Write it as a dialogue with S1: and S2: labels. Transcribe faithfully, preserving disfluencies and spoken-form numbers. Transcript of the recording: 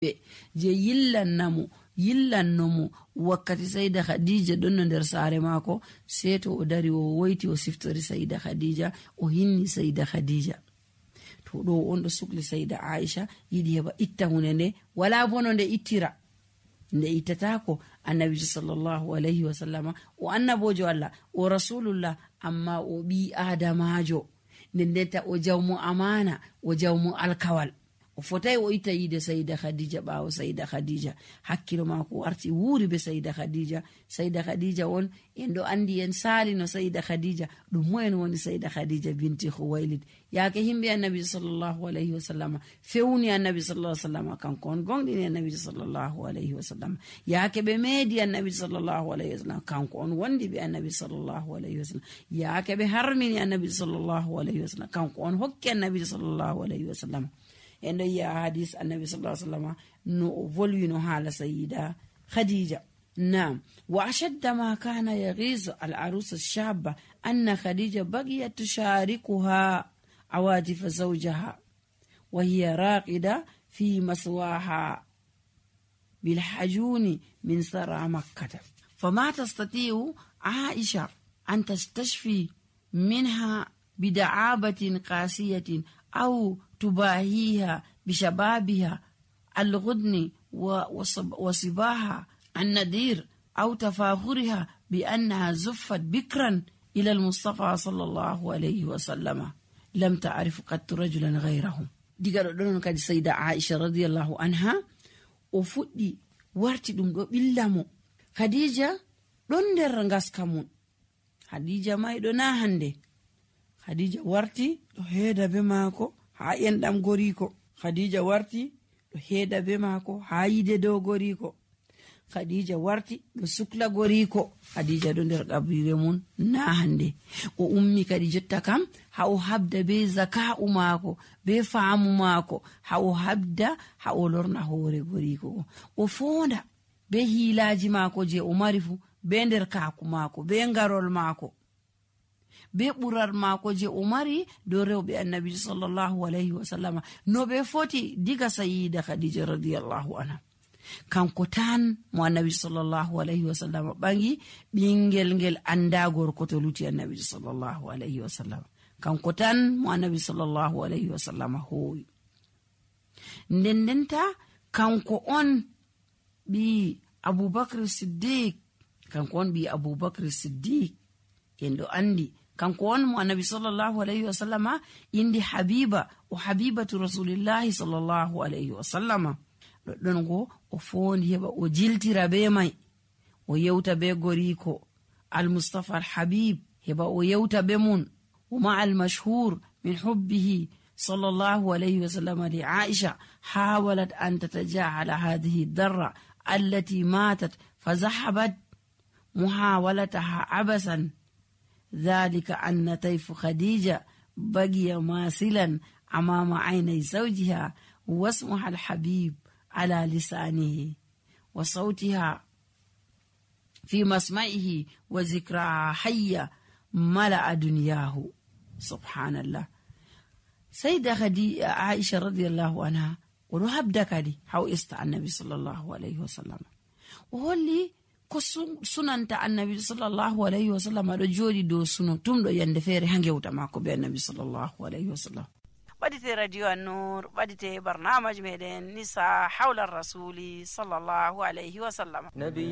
S1: je yillannamo yillannomo wakkati Sayda Khadija ɗon no nder saare maako. Sey to o dari o woyti o siftori Sayda Khadija, o hinni Sayda Khadija. To ɗo on ɗo sukli Sayda Aisha yiɗi heɓa itta hunde nde, wala bono nde ittira. Nde ittatako annabijo sallallahu alayhi wa sallama o annabojo Allah o rasulullah, amma o ɓi adamajo, nden ndenta o jawmo amana, o jawmo alkawal. O fotai o itta yide Sayda Khadija ɓawo Sayda Khadija. Hakkilo mako warti wuri be Sayda Khadija. Sayda Khadija on en ɗo andi en sali no Sayda Khadija ɗum moyen woni Sayda Khadija binti Khuwailid. Yaake himɓe annabi sallallahu alayhi wa sallam fewni annabi sallallahu alayhi wa sallam, kanko on gonɗini annabi sallallahu alayhi wa sallam. Yaake ɓe meedi annabi sallallahu alayhi wa sallam, kanko on wondi ɓe annabi sallallahu alayhi wa sallam. Yaake ɓe harmini annabi sallallahu alayhi wa sallam, kanko on hokki annabi sallallahu alayhi wa sallam. En ɗo yi'a hadis annabi sallallahu alayhi wa sallam no o volwino haala Sayyida Khadija. Naam, wa ashadda ma kana yaghizu al arusa shabba anna Khadija bagiyat tusharikuha awatif zawjaha wa hiya raqida fi maswaha bil hajuni min sara makkah, fama tastati'u Aisha an tastashfi minha bida'abatin qasiyatin aw تباهيها بشبابها الغدن وصباها النذير أو تفاخرها بأنها زفت بكرا إلى المصطفى صلى الله عليه وسلم لم تعرف قد رجلا غيرهم. diga ɗon kadi Sayda Aisha radiyallahu anha o fuɗɗi warti ɗum ɗo ɓillamo. Khadija ɗon nder ngaska mun, Khadija may ɗo na hande. Khadija warti ɗo heeda be maako ha enɗam goriko. Khadija warti ɗo heeda be maako ha yide dow goriko. Khadija warti ɗo sukla goriko. Khadija ɗo nder qabrire mun na hande. O ummi kadi jotta kam ha o habda be zaka'u maako be faamu maako, ha o habda ha o lorna hoore goriko. O fonda be hiilaji maako je o mari fu, be nder kaaku maako, be ngarol maako, be ɓurar maako je o mari dow rewɓe annabi sallallahu alayhi wa sallam, no ɓe foti diga Sayyida Khadija radiyallahu anha. Kanko tan mo annabi sallallahu alayhi wa sallam ɓangi ɓingel ngel anda gorko to luti annabi sallallahu alayhi wa sallam. Kanko tan mo annabi sallallahu alayhi wa sallam hoowi. Nden ndenta kanko on ɓi Abubakar Siddiq, kanko on ɓi Abubakar Siddiq en ɗo andi. Kanko on mo annabi sallallahu alayhi wa sallama indi Habiba o habibatu rasulillahi sallallahu alayhi wa sallama. Ɗon go o fondi heɓa o jiltira be mai, o yewta be goriko al-Mustafa al-Habib, heɓa o yewta be mun. Wama al-mashhur min hubbihi sallallahu alayhi wa sallama li Aisha hawalat an tatajahala hadhihi darra allati matat fazahabat muhawalataha abasan. ذلك أن طيف خديجة بقي ماثلا أمام عيني زوجها، واسمها الحبيب على لسانه، وصوتها في مسمعه، وذكرها حية ملأ دنياه. سبحان الله. سيدة خديجة عائشة رضي الله عنها ونهب دكادي حو استع النبي صلى الله عليه وسلم، وهولي ko sunanta annabi sallallahu alayhi wa sallam ɗo jooɗi dow suno tum ɗo yande feere ha gewta maako be annabi sallallahu alayhi wa sallam. ɓadite radio an-nur, ɓadite barnamaji meɗen nisa hawla rasuli sallallahu alayhi wa sallam.